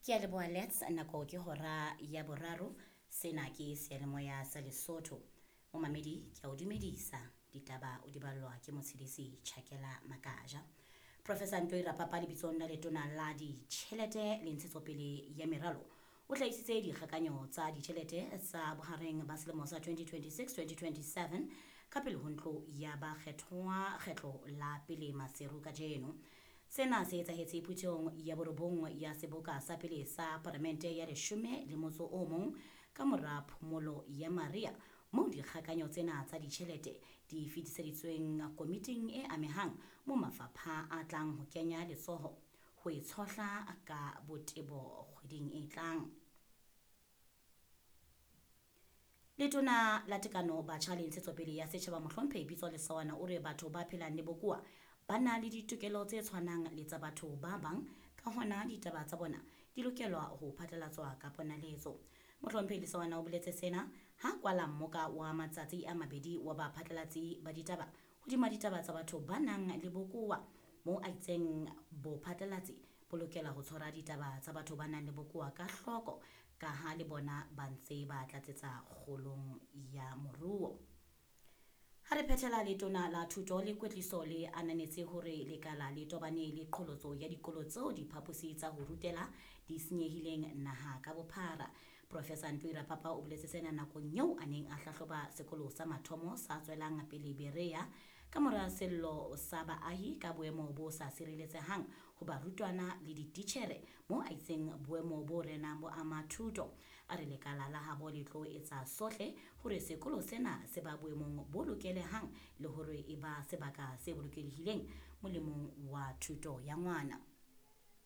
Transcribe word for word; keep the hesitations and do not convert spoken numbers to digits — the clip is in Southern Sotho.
Ke a leboha Lets, nako ke hora ya boraro. Sena ke seyalemoya sa Lesotho. Momamedi ke a o dumedisa. Ditaba o di ballwa ke Motshedisi Chakela Makaja. Professor Ntoi Rapapa lebitsong la letona la ditjhelete le ntshetsopele ya meralo o hlahisitse dikgakanyo tsa ditjhelete tsa bohareng ba selemo sa twenty twenty-six twenty twenty-seven ka pele ho ntlo ya bakgethwa kgetlo la pele Maseru kajeno. Sena se etsahetse phuthehong ya borobong ya seboka sa pele sa palamente ya leshome le motso o mong ka mora phomolo ya mariha, moo dikgakanyo tsena tsa ditjhelete di fetiseditsweng komiting e amehang mo mafapha a tlang ho kenya letsoho ho e tshohla ka botebo kgweding e tlang. Letona la Tekano Batjha le Ntshetsopele ya Setjhaba Mohlomphehi Pitso Lesawana o re batho ba phelang le bokowa ba na le ditokelo tse tshwanang le tsa batho ba bang, ka hona ditaba tsa bona di lokelwa ho phatlalatswa ka ponaletso. Mohlomphehi Lesawana o boletse sena ha kwala mmoka wa matsatsi a mabedi wa baphatlalatsi ba ditaba hodima ditaba tsa batho ba nang le bokowa, moo a itseng bophatlalatsi bo lokela ho tshwara ditaba tsa batho ba nang le bokowa ka hloko, ka ha le bona ba ntse ba tlatsetsa kgolong ya moruo. Ha re phethela, letona la thuto le kwetliso le ananetse hore lekala le tobane le qholotso ya dikolo tseo diphaposi tsa ho rutela di senyehileng naha ka bophara. Professor Ntoi Rapapa o boletse sena nakong eo a neng a hlahloba sekolo sa mathomo sa tswelang pele Berea ka mora sello sa baahi ka boemo bo sa sireletsehang ho barutwana le dititjhere, moo a itseng boemo bo renang bo ama thuto. A re lekala la habo le tlo etsa sohle hore sekolo sena se ba boemong bo lokelehang le hore e ba sebaka se bolokehileng molemong wa thuto ya ngwana.